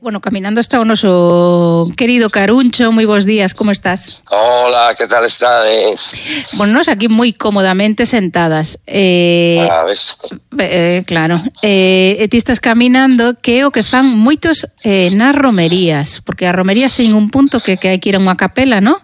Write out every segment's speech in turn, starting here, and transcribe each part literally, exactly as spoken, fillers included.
Bueno, caminando está o noso querido Caruncho. Moi bons días, como estás? Hola, que tal estades? Bueno, nos aquí moi cómodamente sentadas. Eh, ah, ves? Eh, claro. Eh, e ti estás caminando, que é o que fan moitos eh, nas romerías, porque as romerías teñen un punto que, que hai que ir a unha capela, ¿no?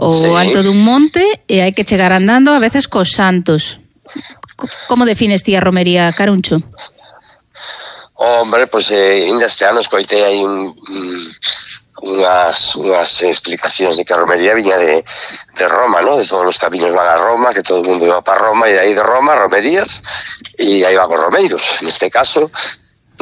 O Sí. alto dun monte, e hai que chegar andando a veces cos santos. Como defines ti a romería, Caruncho? Hombre, pois pues, eh, ainda este ano escoitei aí un, un, unhas, unhas explicacións de que a romería viña de, de Roma, ¿no? De todos os camiños van a Roma, que todo o mundo iba para Roma, e de aí de Roma, romerías, e aí van os romeiros. Neste caso,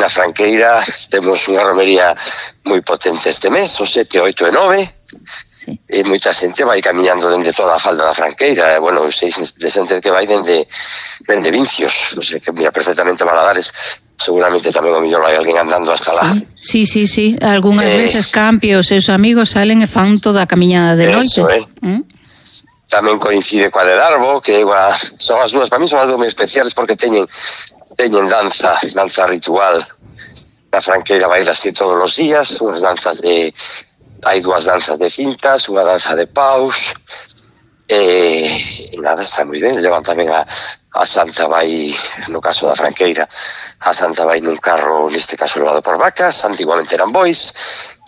na Franqueira, temos unha romería moi potente este mes, o sete, oito e nove, sí. E moita xente vai camiñando dende toda a falda da Franqueira, e, bueno, sei de xente que vai dende, dende Vincios, non sei, que mira perfectamente Valadares. Seguramente tamén o mellor vai alguén andando hasta lá. Sí, sí, sí, sí. Algúnas eh, veces Campi os seus amigos salen e fan toda a camiñada de noite. Eso, eh. ¿Mm? Tamén coincide coa de Darbo, que igual, son as dúas, para mí son as dúas moi especiales porque teñen teñen danza, danza ritual. Na Franqueira bailase todos os días, unhas danzas de hai dúas danzas de cintas, unha danza de paus. E, e nada, está moi ben. Levan tamén a a Santa vai, no caso da Franqueira, a Santa vai nun carro, neste caso levado por vacas, antiguamente eran bois.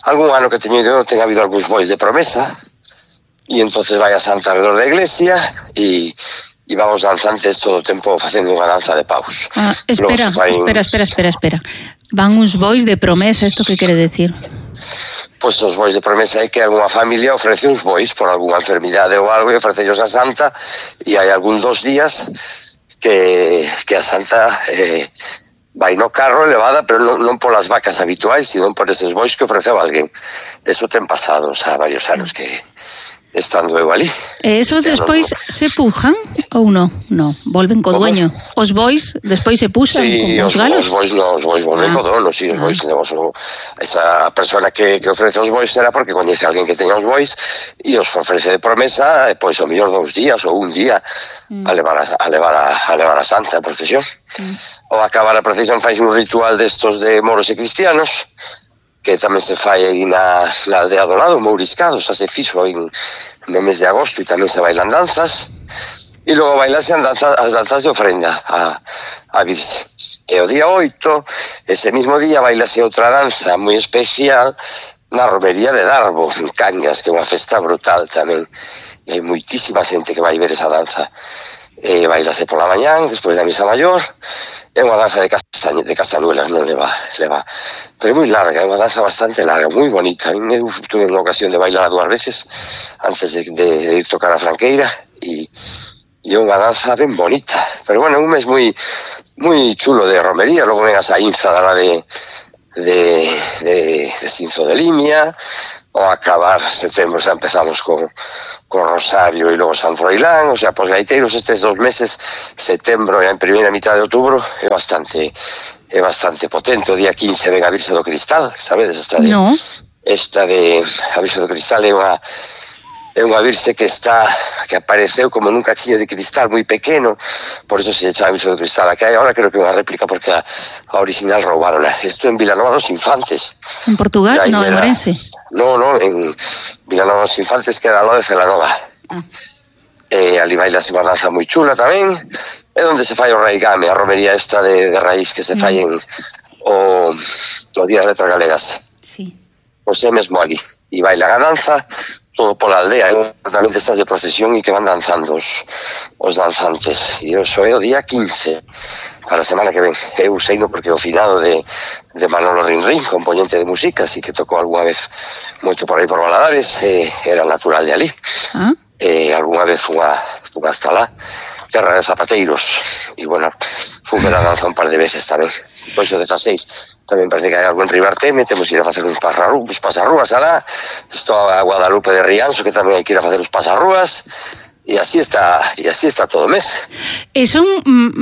Algún ano que teño ido, ten habido algúns bois de promesa, e entonces vai a Santa alrededor da iglesia, e, e vamos danzantes todo o tempo facendo unha danza de paus. Ah, espera, fai... espera, espera, espera, espera. Van uns bois de promesa, isto que quere decir? Pois os bois de promesa é que algunha familia ofrece uns bois por algunha enfermidade ou algo e ofrecellos a Santa, e hai algún dos días que, que a Santa eh, vai no carro elevada, pero non, non polas vacas habituais, sino por eses bois que ofreceu alguén. Eso ten pasado, o sea, varios anos que estando eu ali. E esos este despois ano... se pujan ou non? Non, volven co dueño. Os bois despois se puxan sí, con os galos? Os bois non, os bois volven ah. co dono, sí, os ah. bois levamos o... Esa persona que, que ofrece os bois será porque coñece a alguén que teña os bois e os ofrece de promesa, e pois o mellor dous días ou un día mm. a levar a, a levar a, a levar a Santa a procesión. Mm. Ou acabar a procesión fai un ritual destos de moros e cristianos, que tamén se fai aí na, na aldea do lado, Mouriscado, xa se fixo en, no mes de agosto, e tamén se bailan danzas, e logo bailase danza, as danzas de ofrenda a, a Virxe. E o día oito, ese mismo día, bailase outra danza moi especial na romería de Darbo, en Cañas, que é unha festa brutal tamén, e hai moitísima xente que vai ver esa danza. E bailase pola mañán, despois da misa maior. É unha danza de, castañ de castañuelas, non leva, leva, pero é moi larga, é unha danza bastante larga, moi bonita. Eu tuve unha ocasión de bailar dúas veces antes de, de, de ir tocar a Franqueira, e, e é unha danza ben bonita. Pero bueno, é un mes moi moi chulo de romería. Logo ven a saínza da de, de, de, de Cinzo de Limia. O acabar setembro xa empezamos con, con Rosario e logo San Froilán, o sea, pos gaiteiros estes dos meses, setembro e a primeira mitad de outubro, é bastante é bastante potente. O día quince ven a Virxe do Cristal, sabedes? Esta de, no. Esta de a Virxe do Cristal é unha é unha Virxe que está que apareceu como nun cachiño de cristal moi pequeno, por eso se chama Virxe do Cristal. A que hai agora creo que é unha réplica porque a, a original roubaron. Isto en Vilanova dos Infantes. En Portugal? No, en Orense. No, no, en Vilanova dos Infantes, que era lo de Celanova. Ah. E ali bailase unha danza moi chula tamén. É onde se fai o raigame, a romería esta de, de raíz que se mm. fai en o, o Día das Letras Galegas. Sí. Pois é mesmo ali. E bailan a danza todo pola aldea, é tamén destas de procesión e que van danzando os, os danzantes. E iso é o día quince, para a semana que ven. Eu sei no porque o finado de, de Manolo Rinrín, componente de música, así que tocou algunha vez moito por aí por Valadares, eh, era natural de ali. Ah? E algunha vez fun a, fun hasta lá, terra de zapateiros, e bueno, fun ver a danza un par de veces tamén. Depois o dezaseis tamén parece que hai algo en Ribarteme, temos que ir a facer uns pasarrúas alá. Estou a Guadalupe de Rianxo, que tamén hai que ir a facer uns pasarrúas, e así está, e así está todo o mes. E son,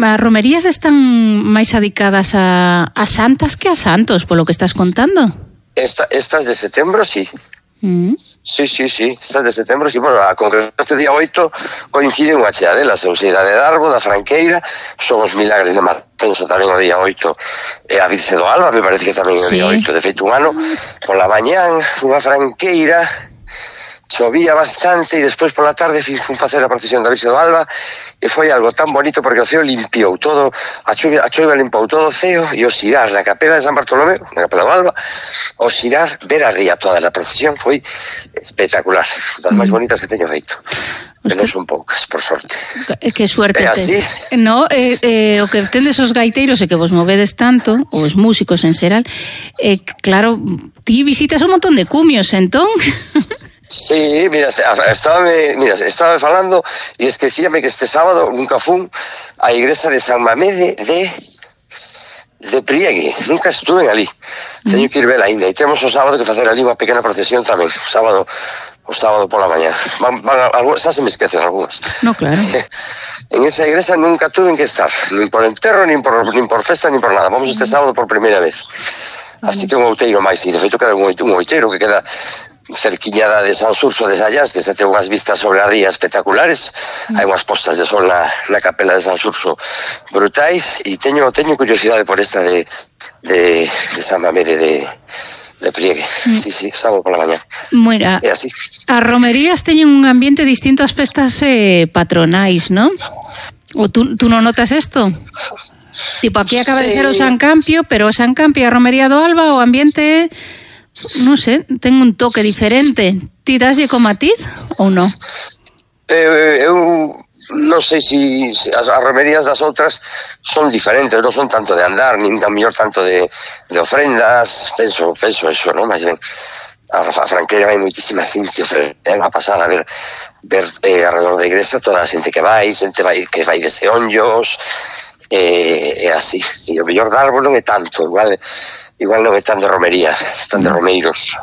as romerías están máis adicadas a, a santas que a santos, polo que estás contando? Esta, estas de setembro, sí. Mm. Sí, sí, sí, estas de setembro, sí, bueno, a concreto este día oito coincide unha chea delas, ou sea, da de Darbo, da Franqueira, son os milagres de Mar penso tamén o día oito, e a Virxe do Alba, me parece que tamén o Sí. día oito, de feito un ano, pola mañán, unha franqueira, chovía bastante e despois pola tarde fun facer a procesión da Virxe do Alba e foi algo tan bonito porque o ceo limpiou todo, a chuvia, a chuvia limpou todo o ceo e o xirar na capela de San Bartolomé, na capela do Alba, o xirar, ver a ría toda na procesión foi espectacular, das máis bonitas que teño feito. Que non son poucas, por sorte. Que suerte É así. tes. No, eh, eh, o que tendes os gaiteiros e que vos movedes tanto, os músicos en xeral, eh, claro, ti visitas un montón de cumios, entón... Sí, mira, estaba mira, estaba falando e esquecíame que este sábado nunca fun á igrexa de San Mamede de de Priegue, nunca estuve ali. Teño que ir ver aínda e temos o sábado que facer ali unha pequena procesión tamén, o sábado o sábado pola mañá. Van, van algo, xa se me esquecen algunhas. No, claro. En esa igrexa nunca tuve que estar, nin por enterro, nin por, nin por festa, nin por nada. Vamos este sábado por primeira vez. Así que un outeiro máis, e de feito queda un outeiro que queda cerquiñada de San Surso de Sallás, que se ten unhas vistas sobre a ría espectaculares. Mm. Hai unhas postas de sol na, na capela de San Surso brutais, e teño teño curiosidade por esta de, de, de San Mamede de, de Priegue. Mm. Sí, sí, sábado pola mañá. Mira, é así. As romerías teñen un ambiente distinto ás festas eh, patronais, ¿no? O tú, tú non notas isto? Tipo, aquí acaba sí. de ser o San Campio, pero o San Campio e a Romería do Alba, o ambiente... non sei, ten un toque diferente. Ti daslle co matiz ou non? Eh, eu non sei se si, as, as romerías das outras son diferentes, non son tanto de andar, nin a mellor tanto de, de ofrendas, penso, penso eso, non? Mas ben, a, a franqueira hai moitísima xente, é unha pasada ver, ver eh, alrededor da igrexa toda a xente que vai, xente vai, que vai de seonllos, é eh, así, e o mellor de árbol non é tanto, igual igual non é tan de romería, están de romeiros.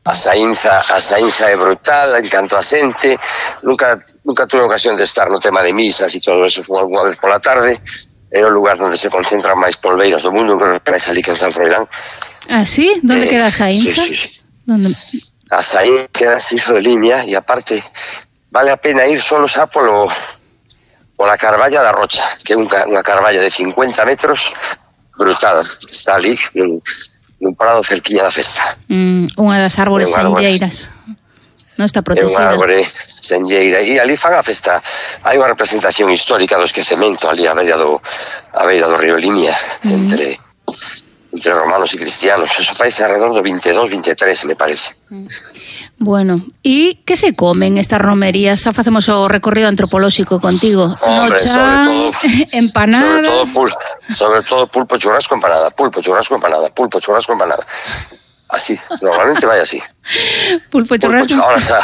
A saínza, a saínza é brutal, en canto a xente, nunca nunca tuve ocasión de estar no tema de misas e todo eso, fui alguna vez pola tarde, é o lugar onde se concentran máis polveiras do mundo, creo que é ali que en San Froilán. Ah, sí? Donde eh, queda a saínza? Sí, sí, sí. Donde... A saínza queda así de línea, e aparte vale a pena ir solo xa polo pola Carballa da Rocha, que é unha, unha carballa de cincuenta metros brutal, está ali nun, nun prado cerquiña da festa. Mm, unha das árbores senlleiras. Non está protegida. É unha árbore senlleira e ali fan a festa. Hai unha representación histórica do esquecemento ali a beira do a beira do río Limia, mm. entre entre romanos e cristianos. Eso faise alrededor do veintidós, veintitrés, me parece. Mm. Bueno, e que se comen estas romerías? Xa facemos o recorrido antropolóxico contigo. Hombre, Nochan, sobre todo, empanada... Sobre todo, pul, sobre todo pulpo, churrasco, empanada. Pulpo, churrasco, empanada. Pulpo, churrasco, empanada. Así, normalmente vai así. Pulpo, churrasco... Pulpo, ahora xa...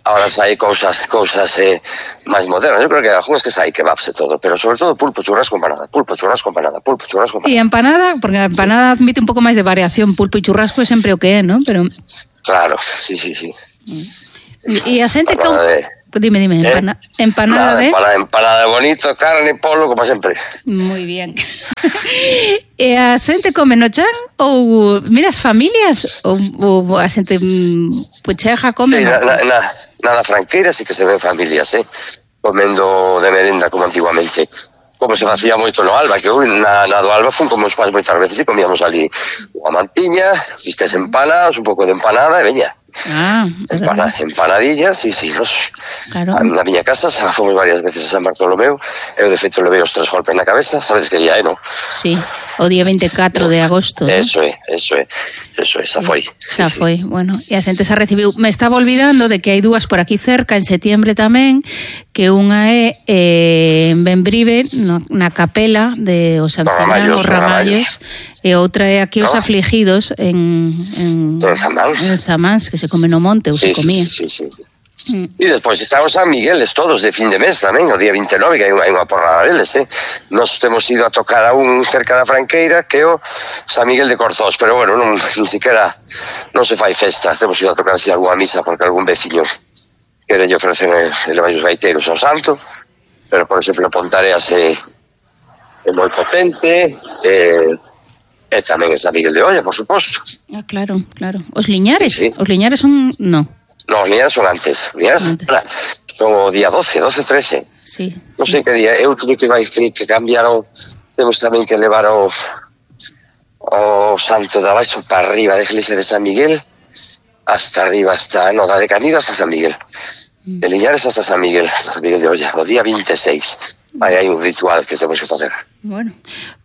Ahora xa hai cousas, cousas eh, máis modernas. Eu creo que algúns que xa hai kebabs e todo, pero sobre todo pulpo, churrasco, empanada. Pulpo, churrasco, empanada. Pulpo, churrasco, empanada. E empanada, porque a empanada admite un pouco máis de variación. Pulpo e churrasco é sempre o que é, non? Pero... Claro, sí, sí, sí. E a xente con... De... Dime, dime, empana... ¿Eh? empanada Nada, de... Empanada, empanada de bonito, carne, polo, como sempre. Moi bien. E a xente come no chan ou miras familias ou, ou a xente pucheja come sí, no chan? Na, na, nada franqueira, sí que se ven familias, eh? Comendo de merenda como antiguamente. Como se facía moito no Alba, que eu na, na do Alba fun como os pais moitas veces e comíamos ali unha mantiña, vistes empanadas, un pouco de empanada e veña. Ah, Empana, empanadillas, sí, sí, nos, claro. Na miña casa xa fomos varias veces a San Bartolomeu, eu de feito levei os tres golpes na cabeza, sabedes que día é, non? Sí, o día veinticuatro de agosto. Eso é, eso é, eso é, xa foi. Xa sí, foi, sí. bueno, e a xente xa recibiu. Me estaba olvidando de que hai dúas por aquí cerca, en setiembre tamén, que unha é eh, en Benbrive, no, na capela de os Sancerán, os Ramallos, e outra é aquí os ¿No? Afligidos en, en, en Zamáns, en Zamáns, que se come no monte ou sí, se comía. Sí, sí, sí. Mm. E despois estamos San Migueles todos de fin de mes tamén, o día veintinueve, que hai unha, hai unha porrada deles, eh? Nos temos ido a tocar a un cerca da Franqueira, que é o San Miguel de Corzós, pero bueno, non, ni siquiera non se fai festa, temos ido a tocar así alguna misa, porque algún veciño quere lle ofrecer elevar os gaiteiros ao santo, pero por exemplo Pontareas é, é moi potente, eh, e tamén é San Miguel de Olla, por suposto. Ah, claro, claro. Os Liñares, Sí, sí. os Liñares son... No, No, os Liñares son antes. Liñares Antes. son o día doce, doce, trece. sí. Non sí. sei que día, eu teño que vai que cambiar o, temos tamén que levar o, o santo de abaixo para arriba da iglesia de San Miguel, hasta arriba, hasta, no, da de Canido hasta San Miguel. De Liñares hasta San Miguel, San Miguel de Olla, o día veintiséis. Aí hai un ritual que temos que facer. Bueno,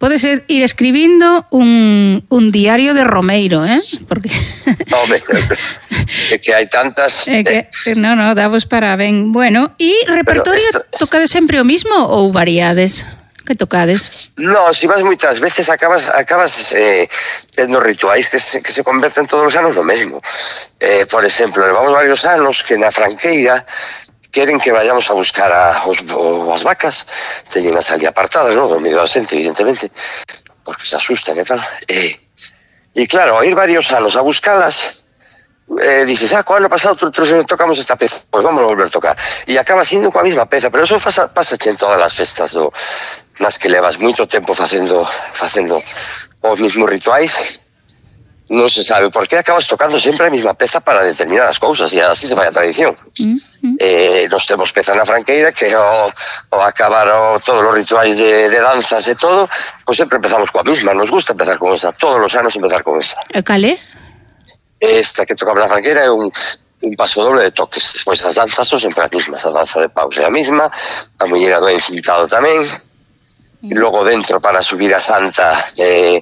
podes ir escribindo un, un diario de Romeiro, eh? Porque... Home, é que hai tantas... É que, no, no, davos para ben. Bueno, e repertorio, esto... tocades sempre o mismo ou variades? Que tocades? No, si vas moitas veces acabas acabas eh, tendo rituais que se, que se converten todos os anos no mesmo. Eh, por exemplo, levamos varios anos que na Franqueira queren que vayamos a buscar a, os, as vacas, teñen as ali apartadas, ¿no? Dormido a xente, evidentemente, porque se asustan e tal. E, e claro, a ir varios anos a buscalas, eh, dices, ah, co ano pasado tocamos esta peza, pois pues vamos a volver a tocar. E acaba siendo coa mesma peza, pero eso pasa, pasa en todas as festas do, nas que levas moito tempo facendo, facendo os mismos rituais. Non se sabe por qué acabas tocando sempre a mesma peza para determinadas cousas e así se vai a tradición. Mm-hmm. Eh, nos temos peza na Franqueira que o, o acabar o, todos os rituais de, de danzas e todo, pois sempre empezamos coa mesma, nos gusta empezar con esa, todos os anos empezar con esa. E calé? Esta que tocamos na Franqueira é un, un paso doble de toques, despois as danzas son sempre as mesmas, a danza de paus é a mesma, a muñeira do encintado tamén, mm. E logo dentro para subir a Santa... Eh,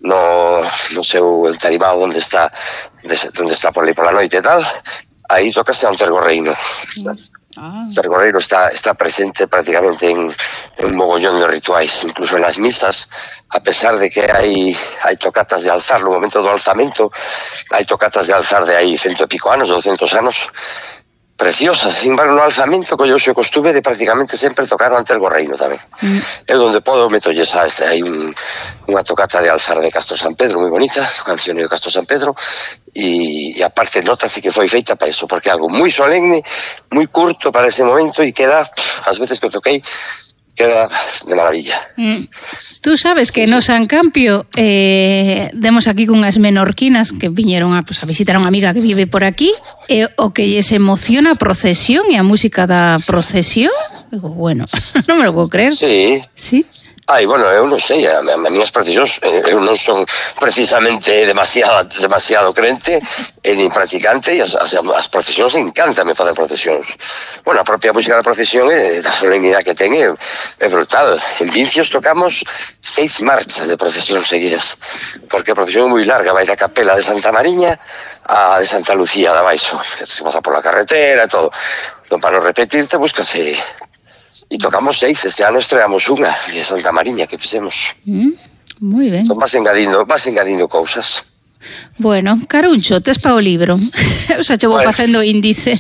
no, no seu entarimado onde está onde está por aí pola noite e tal, aí tocase un tergorreino. Ah. O tergorreino está, está presente prácticamente en, en un mogollón de rituais, incluso en las misas, a pesar de que hai, hai tocatas de alzar, no momento do alzamento, hai tocatas de alzar de aí cento e pico anos, doscientos anos, preciosas. Sin embargo, no alzamento que eu xe costume de prácticamente sempre tocar ante el gorreino tamén. Mm. É onde podo meto esa, hai un, unha tocata de alzar de Castro San Pedro moi bonita, canción de Castro San Pedro, e, e aparte nota sí que foi feita para eso, porque é algo moi solemne, moi curto para ese momento e queda, pff, as veces que toquei, queda de maravilla. Mm. Tú sabes que no San Campio eh, demos aquí cunhas menorquinas que viñeron a, pues, a visitar a unha amiga que vive por aquí, e o que lles emociona a procesión e a música da procesión, digo, bueno, non me lo puedo creer. Sí. Sí. Ai, bueno, eu non sei, a, a minhas procesións, eu non son precisamente demasiado demasiado crente e nin practicante, e as, as, as procesións encántame fazer procesións. Bueno, a propia música da procesión é da solemnidade que ten é, é brutal. En Vincios tocamos seis marchas de procesión seguidas, porque a procesión é moi larga, vai da capela de Santa Mariña a de Santa Lucía de abaixo, que se pasa por la carretera e todo. Entón, para non repetirte, búscase. E tocamos seis, este ano estreamos unha de Santa Mariña que fixemos. Mm, moi ben. Entón vas engadindo, vas engadindo cousas. Bueno, Caruncho, tes pa o libro. Eu xa che vou pues, facendo índice.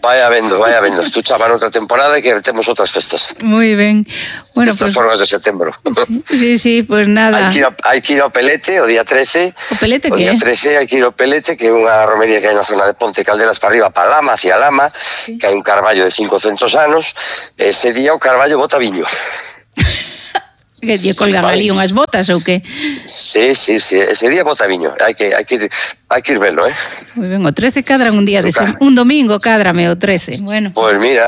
Vai habendo, vai habendo. Tú chavan outra temporada e que temos outras festas. Moi ben. Bueno, Estas pues, formas de setembro. Sí, sí, pues nada. Hai que, ir a, hai que ir ao Pelete o día trece. O Pelete o que día trece hai que ir ao Pelete, que é unha romería que hai na zona de Ponte Caldelas para arriba, para Lama, hacia Lama, sí. Que hai un carballo de cincocentos anos. Ese día o carballo bota viño. Que lle colgan vale. Ali unhas botas ou que? Sí, sí, sí, ese día bota viño. Hai que hai que ir, hai que ir velo, eh. Moi ben, o trece cadran un día de sem... un domingo cadrame o trece. Bueno. Pois pues mira,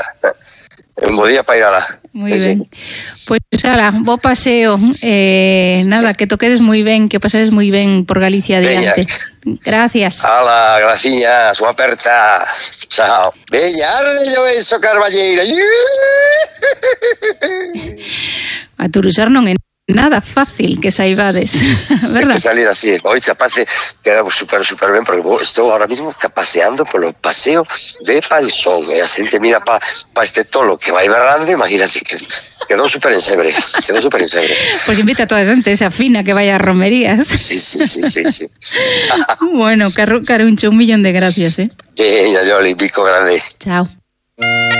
un bo día para ir alá. Moi sí, ben. Pois pues, ala, bo paseo. Eh, nada, que toquedes moi ben, que pasedes moi ben por Galicia adiante. Gracias. Ala, graciña, súa aperta. Chao. Veña, ardello eso, Carballeira. A Turusar non é nada fácil que saibades, verdad? Que salir así, hoy se parece queda super, super ben, porque estou ahora mismo paseando polo paseo de Palsón, e a xente mira pa, pa este tolo que vai berrando, imagínate que quedou super ensebre, quedou super ensebre. Pois pues invita a toda a xente esa fina que vai a romerías. Sí, sí, sí, sí, sí. Bueno, Caruncho, un millón de gracias, eh. Veña, Yoli, pico grande. Chao.